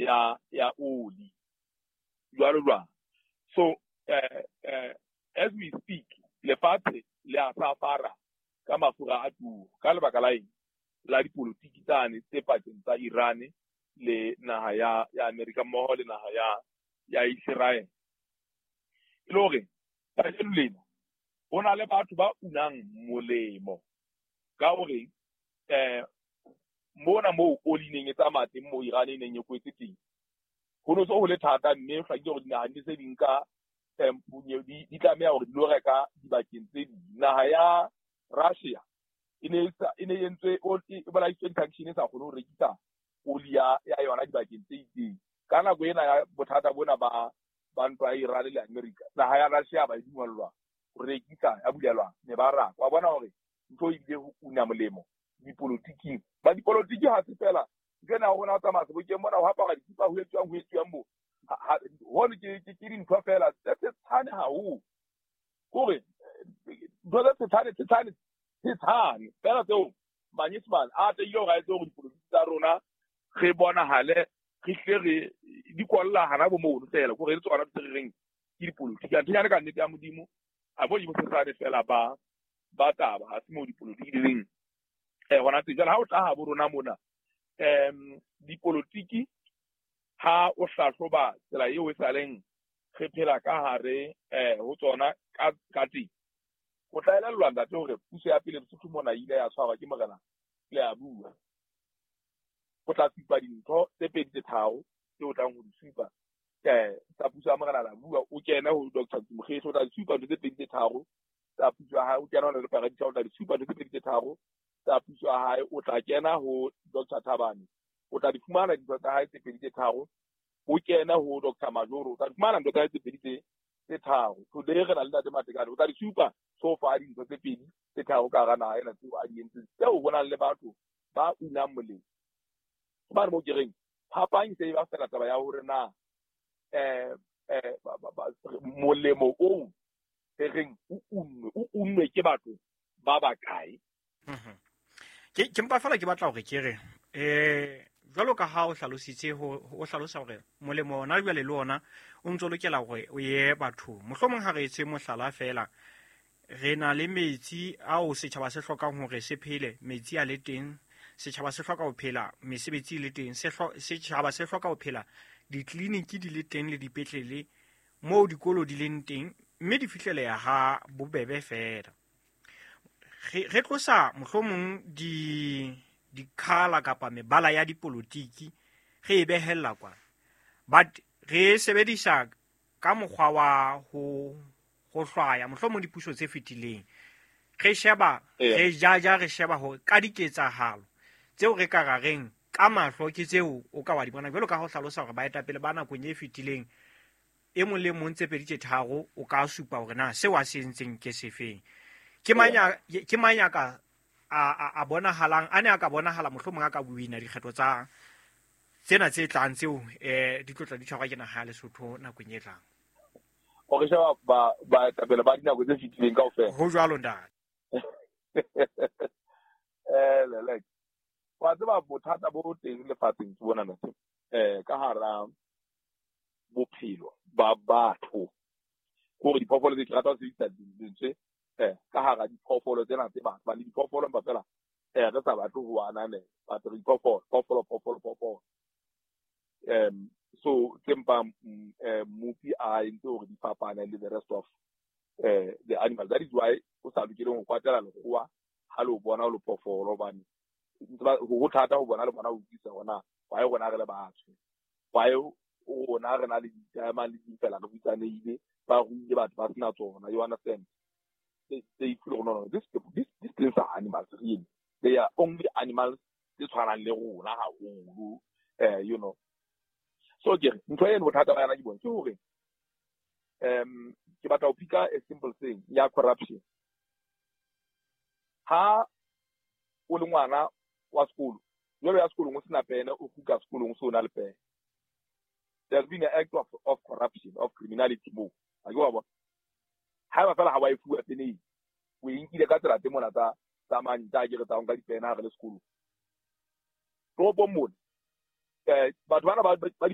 ya oli jwalo jwalo. So as we speak, lefatshe le a safara ka mafura a turu ka lebaka la eng? La dipolotiki tsane tse pakeng tsa Iran le naha ya America mmoho le naha ya Israel. E le hore kajeno lena ho na le batho ba unang molemo ka hore mona moo oli neng e tsamaya teng, moo Iran e neng e kwetse teng, ho no so ho le thata, mme ho hlakile hore dinaha di se di nka di tlameha hore di lo reka dibakeng tse ding. Naha ya Russia e ne e entswe e bolaisitswe di-sanction, e sa kgone ho rekisa oli ya yona dibakeng tse itseng. Ka nako ena ya bothata bona ba ntwa ya Iran le America, naha ya Russia ba e dumellwa ho rekisa, ya bulelwa mebaraka. Wa bona hore ntho e bile ho una molemo dipolotiking. Ba dipolotiki ha se fela ntho ena ya rona ho tsamaya sebokeng mona, ho apara dikipa, ho etsuwang moo. Hono ke dintho fela tse tshetshane haholo. Kore ntho tse tshetshane fela tseo manyesemane a atlehile hore a etse hore dipolotiki tsa rona re bonahale re hle re di kwalla hana bo mono fela. Kore le tsona tse re reng ke dipolotiki. Anthe nyane ka nnete ya Modimo a bo di bosesane fela ba taba, ha se moo dipolotiki di leng hona teng. Jwale ha o tla ha bo rona mona, dipolotiki ha o hlahloba tsela eo e sa leng re phela ka hare ho tsona ka teng, o tla elellwa ntate hore puso ya pele Lesotho mona e ile ya tshwarwa ke morena le a bua. O tla supa dintho tse pedi tse tharo tse o tlang ho di supa tsa puso ya morena la bua. O kene ho Dr. Mokgehle, o tla di supa ntho tse pedi tse tharo tsa puso ya hae. O kena ho le Paradisa, o tla di supa ntho tse pedi tse tharo tsa puso ya hae. O tla kena ho Dr. Thabane, o tla di fumana dintho tsa hae tse pedi tse tharo. O kena ho Dr. Majoro, o tla di fumana ntho tsa hae tse pedi tse tharo. Today re na le Ntate Matekane, o tla di supa so far dintho tse pedi tse tharo ka hara naha ena tseo a di entseng, tseo ho nang le batho ba unang molemo. Hobane mo ke reng phapang se e ba fela taba ya hore na molemo oo re reng o unnwe ke batho ba bakae. Ke mpa fela ke batla hore ke re jwalo ka ha o hlalositse o hlalosa hore molemo ona jwale le ona o ntso lokela hore o ye bathong. Mohlomong ha re etse mohlala fela, re na le metsi ao setjhaba se hlokang hore se phele, metsi a le teng, setjhaba se hloka ho phela, mesebetsi e le teng, setjhaba se hloka ho phela, ditleliniki di le teng le dipetlele moo dikolo di leng teng, mme di fihleleha ha bobebe fela. Re tlosa mohlomong dikhala kapa mebala ya dipolotiki, re e behella kwana, but re sebedisa ka mokgwa wa ho hlwaya mohlomong dipuso tse fetileng. Re sheba, re jaja, re sheba hore ka diketsahalo tseo re ka ra reng ka mahlo ke tseo o ka wa di bona, jwalo ka ho hlalosa hore baetapele ba nakong e fetileng e mong le mong tse pedi tse tharo o ka supa hore na seo a se entseng ke sefeng. Ke mang ya ka a bonahalang, a ne a ka bonahala mohlomong a ka wina dikgetho tsa tsena tse tlang tseo di tlotla di tshwarwa ke naha ya Lesotho nakong e tlang. O re sheba baetapele ba dinako tse fetileng kaofela. Ho jwalo ntate. Lelek. Wa tseba bothata bo teng lefatsheng ke bona ntate. Ka hara bophelo ba batho. Hore diphoofolo tse ke rata ho sebedisa lentswe ka hara diphoofolo tsena tse batho ba le diphoofolo empa fela re sa batle ho ananela. Batho re diphoofolo. So tse mpang Mmopi a entse hore di fapane le the rest of the animals. That is why o sa lokeleng ho kwatela lekgowa ha le o bona o le phoofolo, hobane ho thata ho bona le bona ho utlwisisa hore na why rona re le batho, why rona re na le ditamang le difela re futsanehile, ba ruile batho ba sena tsona. You understand? They feel no, this things are animals really. They are only animals tse tshwanang le rona haholo, you know. So ke re ntho eno bothata ba yona ke bone ke hore ke batla ho pika a simple thing ya corruption. Ha o le ngwana wa sekolo, jwalo ya sekolong o sena pene, o kgutla sekolong o se o na le pene. There's been an act of corruption, of criminality moo. A ke wa bona? Haeba fela ha wa e fuwa pene e, o e nkile ka tsela tse mona tsa mantja ke re tsa nka dipene ha re le sekolong. Toropong mona, batho bana ba